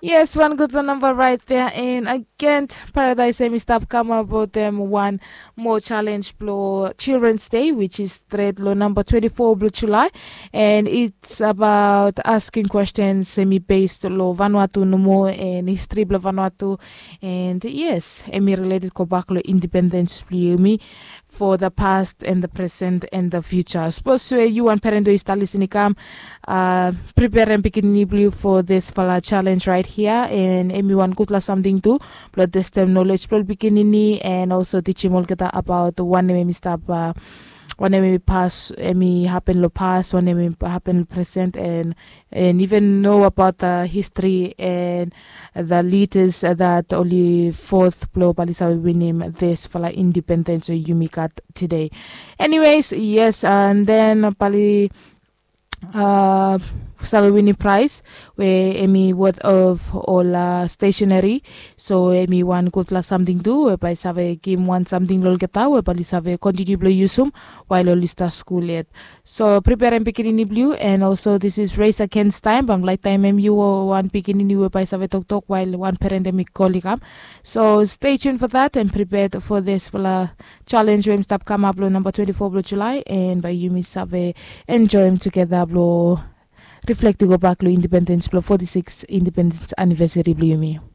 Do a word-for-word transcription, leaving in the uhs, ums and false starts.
Yes, wan gutpela namba rait dea. And agen, Paradise em i stap kamap wetem wan moa challenge blong Children's Day, which is stret long namba twenty-four blong July. And it's about asking questions em i based long Vanuatu nomo and history blong Vanuatu. And yes, em i related go back long independence blong yumi for the past and the present and the future. Sapos we yu wan parent we yu stap lisin i kam, uh, preperem pikinini blong yu for this fala challenge right here, and em i wan gutpela samting tu blong testem knowledge blong pikinini and also teachim olgeta about wanem em i stap, uh, wanem em i pas, em i happen long pas, wanem em i happen long present, and and even know about the history and the leaders that oli fourth blong bali save winim this fala independence yumi gat today. Anyways, yes, and then bali uh, save winim prize we em i worth of ol uh, stationery. So em i wan gutpela samting tu we bai save givim wan samting long olgeta we bali save kontiniu blong yusum while oli stap skul yet. So preperem pikinini blong yu, and also this is race against time. Bam laik taimim yu o wan pikinini we bai save toktok while wan parent em i kol i kam. So stay tuned for that and prepared for this fala challenge we em stap kamap long namba twenty-four blong July, and bai yumi save enjoyim together blong reflect i go back long independence blong forty-six independence anniversary blong yumi.